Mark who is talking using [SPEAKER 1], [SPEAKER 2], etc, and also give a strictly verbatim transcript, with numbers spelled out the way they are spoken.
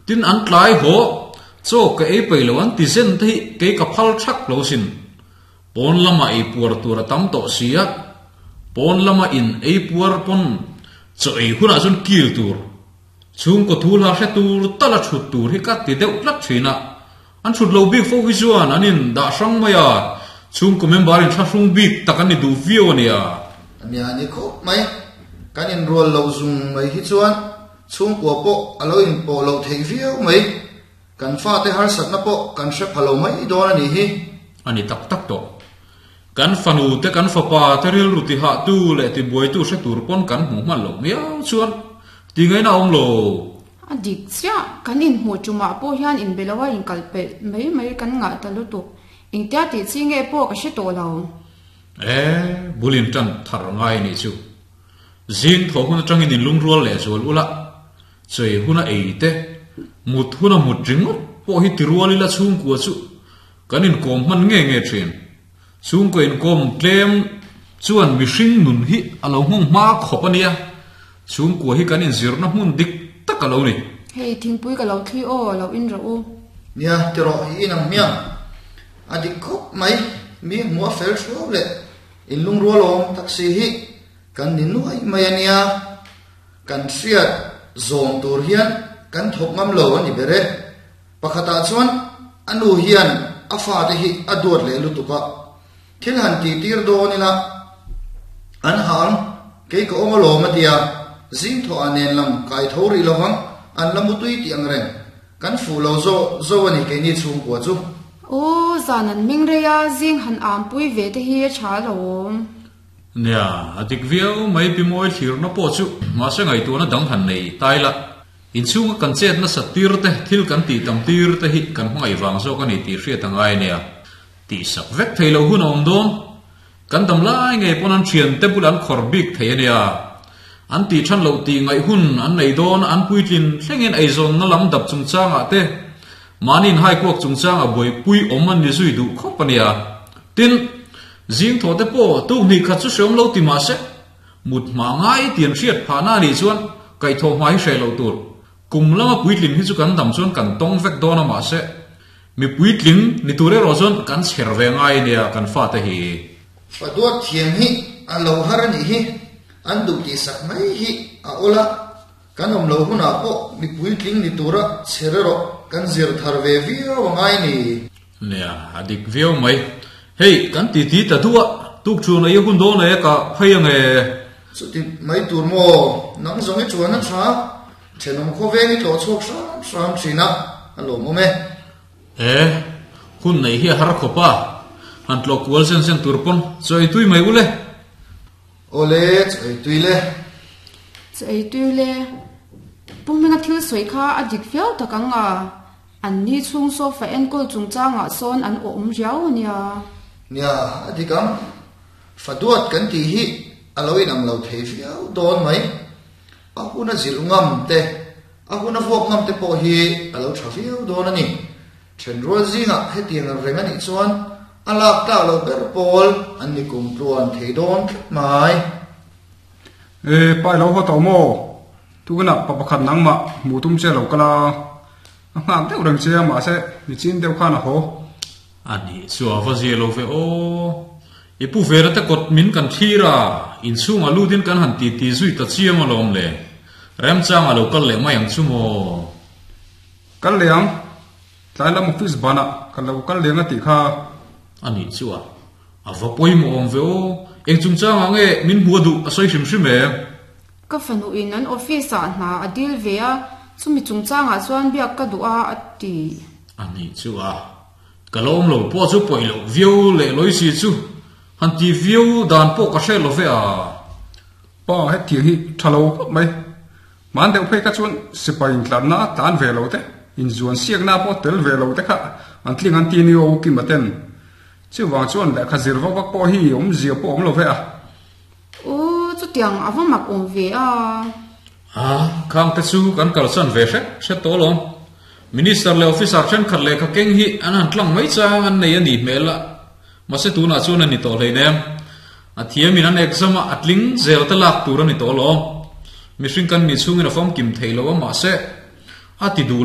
[SPEAKER 1] Tin an tlai ho chaw ka ei peih lo an ti zen te hi kei ka phal thak lo sin. Pawn lama ei puar tur a tam tawh si a, pawn lama in ei puar pawn chaw ei hunah chuan kil tur, chhungkaw thu hla hre tur tala thut tur hi ka ti deuh tlat thin a. An thut lo bik fo hi chuan an in dah hrang mai a, chhungkaw member in thlahrung bik tak an ni duh viau a nia.
[SPEAKER 2] Nia ni khawp mai, kan inrual lo zung mai hi chuan chhungkua pawh a lo inpawh loh theih viau mai. Kan fate harsatna pawh kan hre pha lo mai dawn a nih hi.
[SPEAKER 1] A ni tak tak tawh. Kan fanu te kan fapa te rilru ti hah tu leh ti buai tu hre tur pawn kan hmuh hman loh miau chuan ti ngaihna a awm lo.
[SPEAKER 3] A dik chiah, kan inhmuh tumah pawh hian inbe lo a inkal pelh mai mai kan ngah ta lutuk. Engtia tih chi nge pawh ka hre tawh lo.
[SPEAKER 1] E, bul in tan thar ngai nih chu. Zing thaw hun atangin in lungrual leh zual ula, chei huna ei te, mut huna mut ringawt pawh hi tirual ila chhungkua chu kan inkawm hman nge nge thin. Chhungkaw inkawm tlem chuan mihring nun hi a lo nghawng hma khawp a nia. Chhungkua hi kan inzirna hmun dik tak a lo ni.
[SPEAKER 3] Hei, thingpui ka lo thli aw, lo in rawh u.
[SPEAKER 2] Nia, tirawh i inang hmiang. A dik khawp mai, mi hmuh a fel hruau leh in lungrual awm tak si hi kan ni nuai mai a nia. Kan hriat zawm tur hian kan thawk ngam lo a ni ber e. Pakhatah chuan a nu hian a fate hi a duat leh lutuk a, thil han tih tir dawn ila an hang, kei ka awm alawm a tia, zing thawh ah nen lam kai tho rih lovang, an la mutui tih ang reng. Kan fuh lo zo zo a ni keini chhungkua chu.
[SPEAKER 3] Aw, zan an meng rei a, zing han am pui ve te hi a tha alawm.
[SPEAKER 1] Nia, a dik viau mai pi mawi thlirna pawh chu mahse ngaihtuahna dang han nei tai la. Inchhunga kan chet nasat tir te, thil kan tih tam tir te hi kan hmangaih vang zawk a ni tih hriat a ngai nia. Tih sak vek thei lo hun a awm dawn. Kan dam lai ngei pawn an thian te bulah an khawr bik thei a nia. An tih than loh tih ngaih hun an nei dawn, an puitlin thlengin eizawnna lam dap chungchangah te, mahni inhaikuak chungchangah buaipui awm an ni zui duh khawp a nia. Tin, zing thaw te pawh tukhnih khat chu hreawm lo ti mah se, mut hma ngai tian hriat phahna a nih chuan kaihthawh hma hi hreh loh tur. Kum lama puitling hi chu kan dam chuan kan tawng vek dawn a mah se, mi puitling ni tur erawh chuan kan chher ve ngai a nia kan fate hi.
[SPEAKER 2] Fa duat thiam hi a lo har a nih hi, an duh tih sak mai hi a awl a, kan awm lo hunah pawh mi puitling ni tura chher erawh kan zir thar ve viau a ngai a ni.
[SPEAKER 1] Nia, a dik viau mai. Hei, kan ti ti ta duh a, tuk thu nei hun dawn e ka phei ang e.
[SPEAKER 2] Chuti mai tur maw, nang zawng i chuan a tha, thenawm khawveng i tlawh chhuak hram hram thin a, a lawmawm e.
[SPEAKER 1] E, hun nei hi a har khawp a, han tlawh kual zen zen tur pawn chaw ei tui mai u le.
[SPEAKER 2] Awle, chaw ei tui le.
[SPEAKER 3] Chaw ei tui le. Pu Hminga thil sawi kha a dik viau tak ang a, an ni chhung sofa enkawl chungchangah sawn an awm riau a nia.
[SPEAKER 2] Nia, a dik ang. Fa duat kan tih hi a lo inang lo thei viau dawn mai. A hun a zilh ngam te, a hun a vuak ngam te pawh hi a lo tha viau dawn a ni. Thenrual zingah hetiang reng a nih chuan a lak tlak loh ber pawl an ni kum tluan thei dawn tlat mai.
[SPEAKER 4] E, pai lo haw tawh maw? Tunah pa pakhat nangmah hmuh tum che lo kal a, a nghak deuh reng che a, mahse nichin deuh khan a haw.
[SPEAKER 1] A nih chu a va zia lo ve aw. I pu Vera te kawt min kan thlir a, inchhungah lutin kan han ti ti zui ta chiang alawm le. Remchangah lo kal leh mai ang chu maw?
[SPEAKER 4] Kal leh ang. Tlai lam office banah ka lo kal leng a tih kha.
[SPEAKER 1] A nih chu a, a va pawimawh awm ve aw. Eng chungchangah nge min hmu a duh a sawi hrim hrim em?
[SPEAKER 3] Ka fanuin an office ah hna a dil ve a, chumi chungchangah chuan biak ka duh a a ti.
[SPEAKER 1] A nih chu a, ka lo awm lo pawh chu pawih loh viau leh lawi si chu han ti viau dan pawh ka hre lo ve a.
[SPEAKER 4] Pa, hetiang hi tha lo khawp mai. Hman deuh phei kha chuan sipai intlanna a tlan ve lo te, inzuan siakna pawh tel ve lo te kha an tling an ti ni aw Kima ten. Chuvang chuan lehkha zir vak vak pawh hi awmzia pawh awm lo ve a.
[SPEAKER 3] U, chutiang a va mak awm ve a.
[SPEAKER 1] A, khang te chu kan kalsan ve hret hret tawh alawm. Minister leh officer thenkhat lehkha keng hi an han tlang mai chang an nei a nih hmel a. Mahse tunah chuan a ni tawh hleinem. A thiamin an exam a, a tling zel te lak tur a ni tawh alawm. Mihring kan nih chhungin a famkim theih lo a, mahse a ti duh